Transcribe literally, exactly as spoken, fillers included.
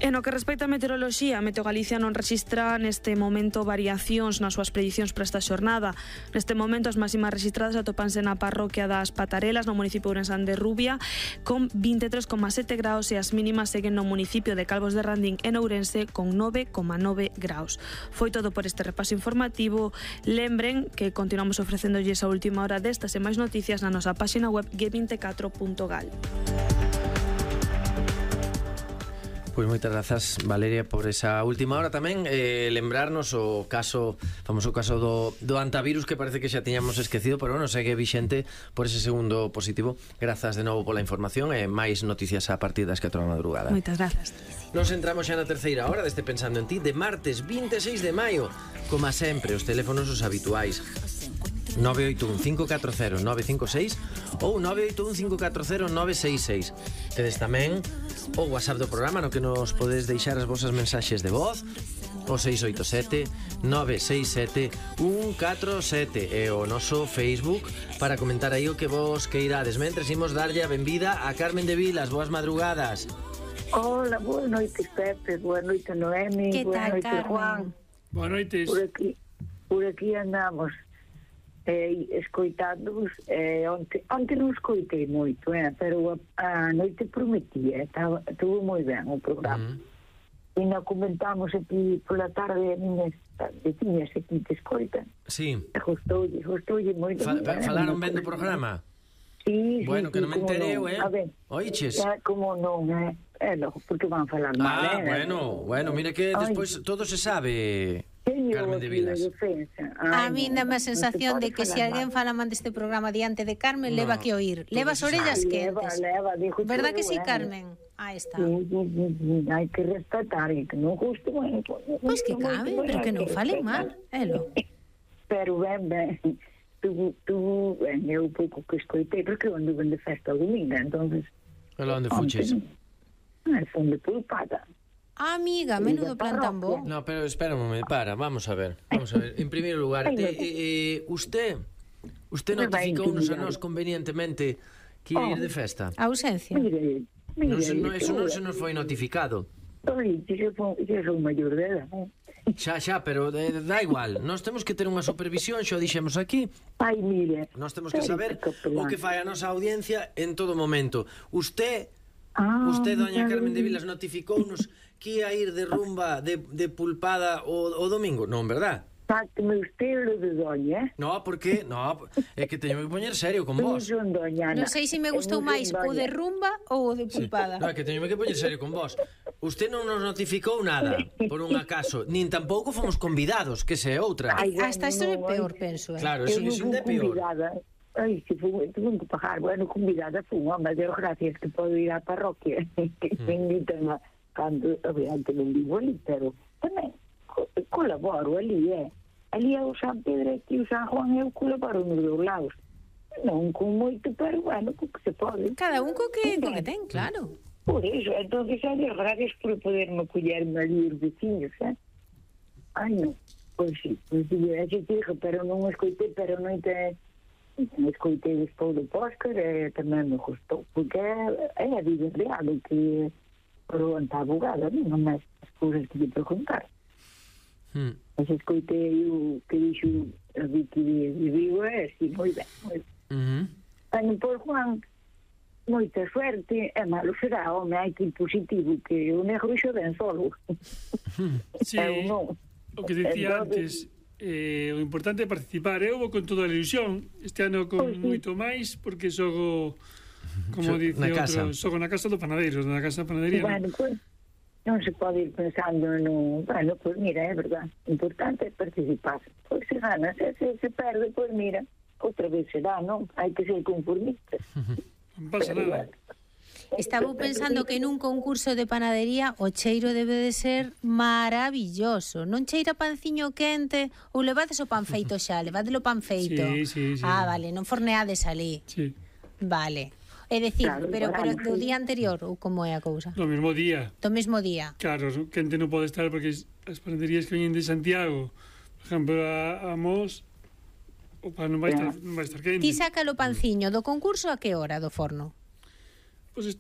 E no que respecta a meteoroloxía, Meteo Galicia non rexistra neste momento variacións nas súas predicións para esta xornada. Neste momento as máximas rexistradas atópanse na parroquia das Patarelas, no municipio de Ourensán de Rubia, con vinte e tres coma sete graus, e as mínimas seguen no municipio de Calvos de Randín en Ourense con nove coma nove graus. Foi todo por este repaso informativo. Lembren que continuamos ofrecéndolles a última hora destas e máis noticias na nosa páxina web g vinte e catro punto gal. Pois moitas grazas, Valeria, por esa última hora tamén. eh, Lembrarnos o caso, famoso caso do, do antivirus, que parece que xa tiñamos esquecido, pero bueno, segue vixente por ese segundo positivo. Grazas de novo pola información e máis noticias a partir das catro da madrugada. Moitas grazas. Nos entramos xa na terceira hora deste Pensando en Ti, de martes vinte e seis de maio. Como sempre, os teléfonos os habituais: nove oito un cinco catro cero nove cinco seis ou nove oito un cinco catro cero nove seis seis. Tedes tamén o WhatsApp do programa, no que nos podes deixar as vosas mensaxes de voz, o seis oito sete nove seis sete un catro sete, e o noso Facebook para comentar aí o que vos queirades. Mentres imos darlle a benvida a Carmen de Vilas. Boas madrugadas. Hola, boa noite, Pepe, boa noite, Noemi, boa noite, Juan. Boa noites. Por aquí, por aquí andamos eh, escoitándoos. eh, onte, onte non escoitei moito, eh, pero a, a noite prometía, estaba, estuvo moi ben o programa. Uh-huh. E non comentamos aquí pola tarde a miñas veciñas aquí te escoitan. Sí. Gostoulle, gostoulle moito. Fa, fa, falaron ben do programa? Sí, bueno, sí, que non me entereu, non. eh? A ver, oiches? É como non, eh? É logo, porque van falar mal, Ah, eh? bueno, bueno, mira que despois todo se sabe, Carmen de Vilas. A mí dame a sensación de que se alguén fala mal deste programa diante de Carmen, No, leva que oír. Leva as orellas quentes. Leva, dijo, Verdad que sí, bueno. Carmen? Aí está. Sí, sí, sí, sí, hai que respetar, e que non guste, bueno, Pois que cabe, pero que non falen mal, elo. Pero ben, ben, tu, tu, ben, eu pouco que escoitei, porque eu anduve de festa o domingo, entonces... Ela onde fuches? Ai, fun de pulpada. Ah, amiga, menudo plan tan bo. No, pero espera un momento, para, vamos a ver. Vamos a ver, en primeiro lugar, te, eh, eh, usted usted notificounos a nós convenientemente que ia ir de festa. A ausencia. Mire, mire, Non se, no, eso non se nos foi notificado. Oi, eu son maior de edad, eh? Xa, xa, pero eh, da igual. Nós temos que ter unha supervisión, xa o dixemos aquí. Ai, mire. Nós temos que saber o que fai a nosa audiencia en todo momento. Usted, ah, usted, doña Carmen de Vilas, notificounos que ia ir de rumba, de, de pulpada o, o domingo. Non, verdad? Sáqueme usted lo de doña, eh? No, porque, no, é que teño que poñer serio con vos. Non son doña, Non sei se me gustou máis o de rumba ou o de pulpada. Sí. No, é que teño que poñer serio con vos. Usted non nos notificou nada, por un acaso, nin tampouco fomos convidados, que se é outra. Ai, bueno, Hasta isto é no, peor, penso, eh. Claro, eso, eso é peor. Convidada. Ai, se fui, tuve que pagar. Bueno, convidada fui, mas eu gracias que podo ir á parroquia, que mm. me invitan a, cando, obviamente non vivo ali, pero tamén co colaboro ali, eh. Ali é o San Pedro e o San Juan, eu colaboro nos dous lados. Non con moito, pero bueno, co que se pode. Cada un co que, co que ten, claro. Por iso, entonces, adiós, gracias por poderme acollerme ali os veciños, eh? Ai, non, pois sí, pois sí, é que dixo, pero non escoitei, pero non te... Non escoitei despois do Póscar, e tamén me gustou, porque é a vida real, o que pergunta a abogada, non máis as cousas que lle preguntar. Hmm. Mas escoitei o que dixo a Vicky de Vigo, é así, moi ben, moi ben. Uh-huh. Bueno, pois, Juan, moita suerte, é malo será, home, hai que ir positivo, que o negro xo ben solo. Sí, o que dicía antes, eh, o importante é participar. Eu vou con toda a ilusión, este ano con Pois sí. moito máis, porque xogo, como So, dice na outro, casa. xogo na casa do panadeiro, na casa da panadería. Bueno, pois, non se pode ir pensando no... Bueno, pois mira, é verdad, o importante é participar. Pois se gana, se, se, se perde, pois mira, outra vez será, non? Hai que ser conformistas. Non pasa nada. Estaba pensando que nun concurso de panadería o cheiro debe de ser maravilloso. Non cheira panciño quente ou levades o pan feito xa, levades o pan feito. Sí, sí, sí. Ah, vale, non forneades ali. Sí. Vale. É dicir, Claro, pero, pero claro, do sí. día anterior, ou como é a cousa? No mesmo día. Do mesmo día. Claro, quente non pode estar porque as panaderías que veñen de Santiago, por exemplo, a, a Mos, o pan non vai estar, non vai estar quente. Ti saca o panciño do concurso a que hora do forno? Pois pues